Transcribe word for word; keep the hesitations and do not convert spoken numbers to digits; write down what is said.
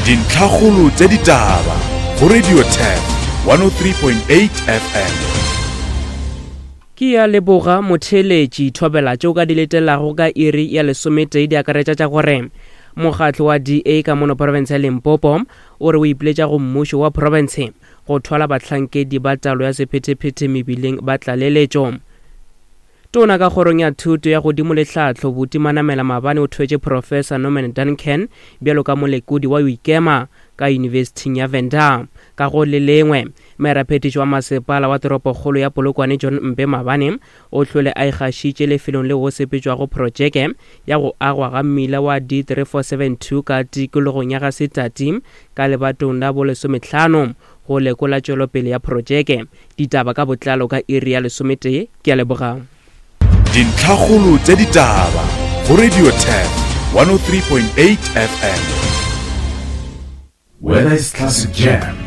Dintlhakgolo tša ditaba go Radio Turf one oh three point eight F M. Ke ya leboga motheeletši. Thobela tšeo ka di letelago ka iri ya lesometee di akaretša tša gore mokgatlo wa D A ka mono province ya Limpopo o re o ipiletša go mmušo wa province go thwala bahlankedi ba taolo ya sephethephethe mebileng ba tlaleletšo. Tona ka kgorong ya thuto ya godimo le tlhahlo Buti Manamela maabane o thwetše Professor Norman Duncan bjalo ka molekodi wa Ikema ka Yunibesithing ya Venda. Ka go le lengwe, meraphethiši wa masepala wa toropokgolo ya Polokwane John Mpe maabane o hlole a ikgašitše lefelong leo go sepetšwago projeke ya go agwa ga mmila wa D three four seven two ka tikologong ya ga Setati ka lebatong la bolesomehlano go lekola tšwelopele ya projeke. Ditaba ka botlalo ka iri ya lesometee. Ke a leboga. Dintlhakgolo tša ditaba go Radio Turf one oh three point eight F M. Whether it's classic jam,